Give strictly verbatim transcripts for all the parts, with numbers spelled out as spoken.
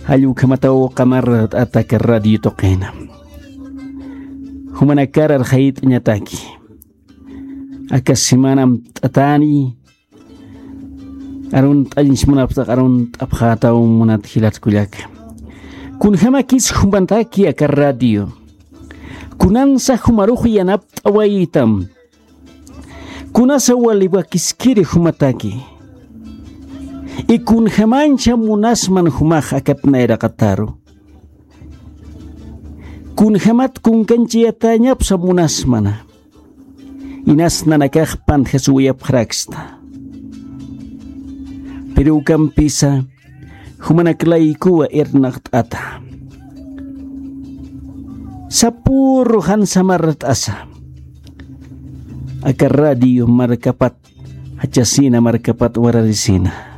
Jall ukhamataw qamart'ata aka radio tuqina. Jumanakar arxayt'añataki. Aka semana amt'atani. Arunt'añch munapxta, arunt'apxätaw munat jilat kullaka. Kunjamakis jumanataki aka radio. Kunansa jumarux yanapt'awaytam. Kunasa wali wakiskiri jumataki. Y kunjamancha munasman jumax akat nayraqataru. Kunjamat kunkanchayatäñapsa munasmana. Inas nanakax pantjasuwayapxaraksta. Pero ukampisa jumanak laykuwa irnaqt'ata. Sapüru jan samart'asa. Aka radio markapat jachasina, markapat wararisina.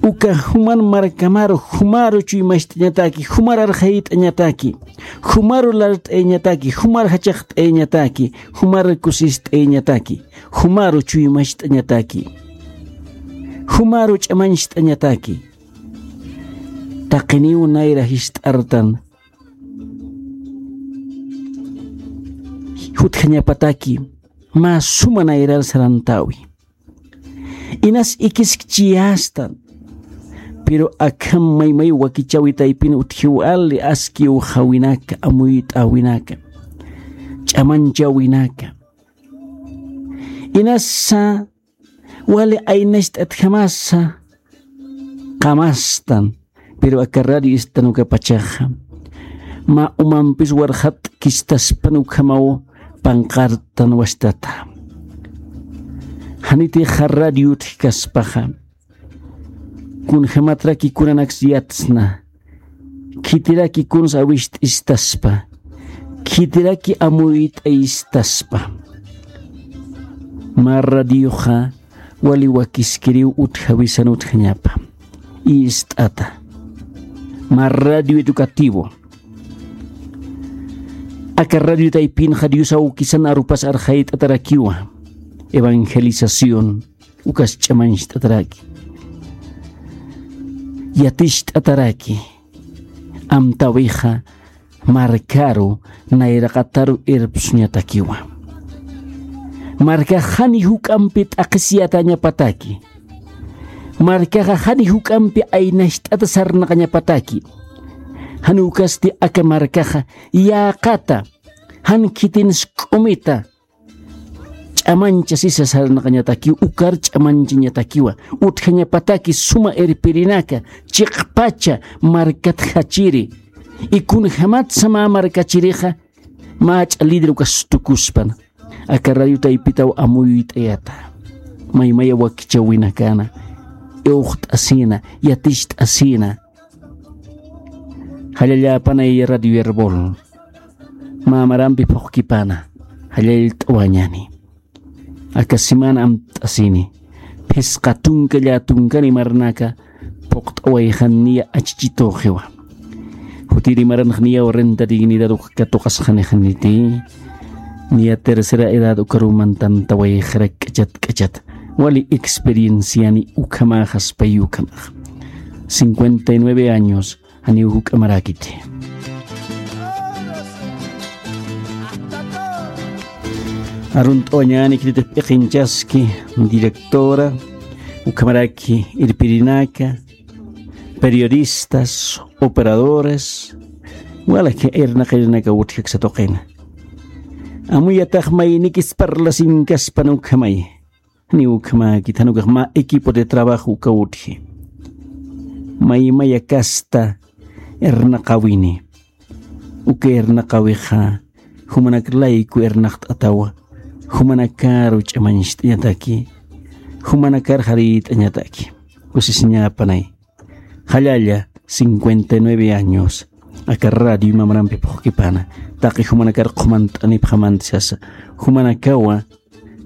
Uka juman markamaru, jumaru chuymacht'añataki, jumar arxayt'añataki, jumaru lart'ayañataki, jumar jachaqt'ayañataki, jumar kusist'ayañataki, jumaru chuymacht'añataki, jumaru ch'amañcht'añataki. Taqiniw nayra jist'artan jutjañapataki, mä suma nayrar sarantäwi. Inas ikiskchiyästan. Pero akham maymay wakichäwi taypin utjiw ali askiwxäwinaka, amuyt'äwinaka, ch'amanchäwinaka. Inasa wali aynacht'atjamasa qamastan, pero aka radio istan ukapachaxa mä umampis warxatkistaspan ukhamaw panqartan wastata. Janitixa radio utjkaspaxa, kunjamatraki kunanaks yatsna, khitiraki kuns awisht'istaspa, khitiraki amuyt'aystaspa. Mä radioxa wali wakiskiriw utjawisan utjañapa. Ist'ata. Mä radio educativo. Aka radio taypinxa Dios awkisan arupas arxayt'atarakiwa. Evangelización. Ukas ch'amañcht'ataraki. Yaticht'ataraki. Amtäwixa markaru nayraqataru irpsuñatakiwa. Markax jani juk'ampi t'aqhisiyatañapataki. Markaxa jani juk'ampi aynacht'ata sarnaqañapataki. Jan ukasti aka markaxa yäqata, jan khitin sk'umita, ch'amancha sisa sarnaqañatakiw, ukar ch'amanchañatakiwa, utjañapataki suma irpirinaka, chiqpacha markat jachiri, y kunjamatsa mä markachirixa, mä ch'a líder ukas tukuspan, aka radio taypitaw amuyt'ayata, maymaya wakichäwinakana, iwxt'asina, yaticht'asina, Jallalla apanay Radio Erbol. Mä marampi phuqkipana. Jallallt'awañani. Aka semana amt'asini. Phisqa tunka llätunkani marnaka phuqt'awayxan niya achichituxiwa. Jutiri maranx niyaw renta dignidad uka katuqasxanixaniti. Niya tercera edad ukaruw mantantawayxarak k'achat k'achat. Wali experienciani ukhamaxaspay ukhamax. Cincuenta y nueve años, janiw juk'amarakiti. Arunt'awañani khititix p'iqinchaski, directora, ukhamaraki irpirinaka, periodistas, operadores, walaki irnaqirinaka utjkaksa tuqina. Amuyatax maynikis parlasinkaspan ukhamay. Janiw ukhamäkit, jan ukax mä equipo de trabajo uka utji. Maymaya kasta irnaqawini. Uka irnaqawixa, jumanak layku irnaqt'atawa, jumanakaru ch'amañcht'añataki, jumanakar jarït'añataki. Kusisiñapanay. Jallalla, cincuenta y nueve años, aka radio mamarampi phuqkipana, taqi jumanakar qhumant'anipxamanti sasa, jumanakawa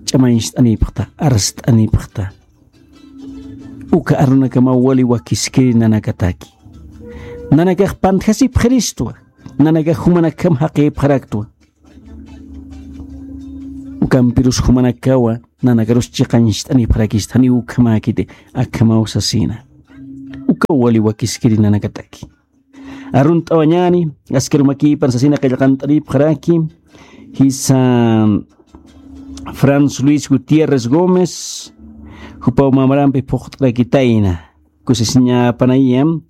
ch'amañcht'anipxta, arst'anipxta. Uka arunakamaw wali wakiskiri nanakataki. Nanakax pantjasipxiristwa, nanakax jumanakham jaqïpxaraktwa. Ukampirus jumanakawa, nanakarus chiqañcht'anipxarakista, janiw ukhamäkiti, akhamaw sasina. Ukaw wali wakiskiri nanakataki. Arunt'awañani, askarumakipan sasina qillqant'aripxaraki, jisa Franz Luis Gutiérrez Gómez, jupaw mamarampi phuqt'arakitayna. Kusisiñapanayam,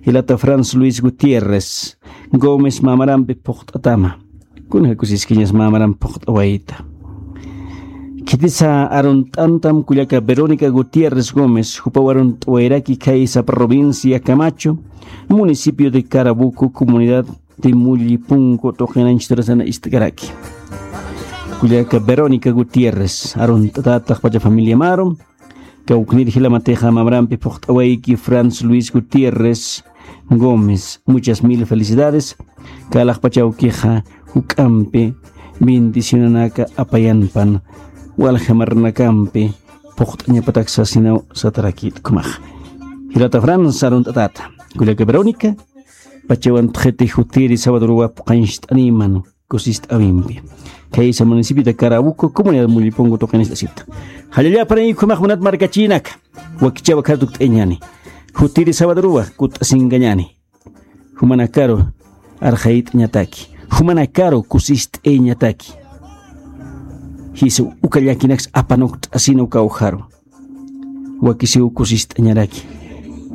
jilata Franz Luis Gutiérrez Gómez mamarampi phuqt'atama. Kuna kusiskiñas mamaram phuqt'awayta. Khitisa arunt'antam kullaka Verónica Gutiérrez Gómez, jupaw arunt'awayraki khaysa provincia Camacho, municipio de Carabuco, comunidad de Mullipunco, tuqinanchturasana ist'karaki. Kullaka Verónica Gutiérrez, arunt'atataq pacha familia maru, kawknir jilamatixa mamarampi phuqt'awayki Franz Luis Gutiérrez Gómez. Muchas mil felicidades. Kalaqpachawkixa juk'ampi bendicionanaka apayanpan waljamarnakampi phuqt'añapatak sasinaw satarakit kumax. Jilata Franz arunt'atata. Kullaka Verónica, pachawan txiti jutiri sabadoruwa puqancht'animan kusist'awimpi. Khaysa municipio de Carabuco, comunidad Mullipungo tuqinist'asita. Jallallaparaykhumax munat markachinaka. Wakichawa khartukt'añani. Jutiri sabadoruwa kutt'asinkañani. Jumanakaru arxayt'añataki. Jumanakaru kusist'añataki. Jisa uka llakinaks apanukt'asina uka ujaru. Wakisiw kusist'añaraki.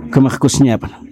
Ukhamax kusiñapana.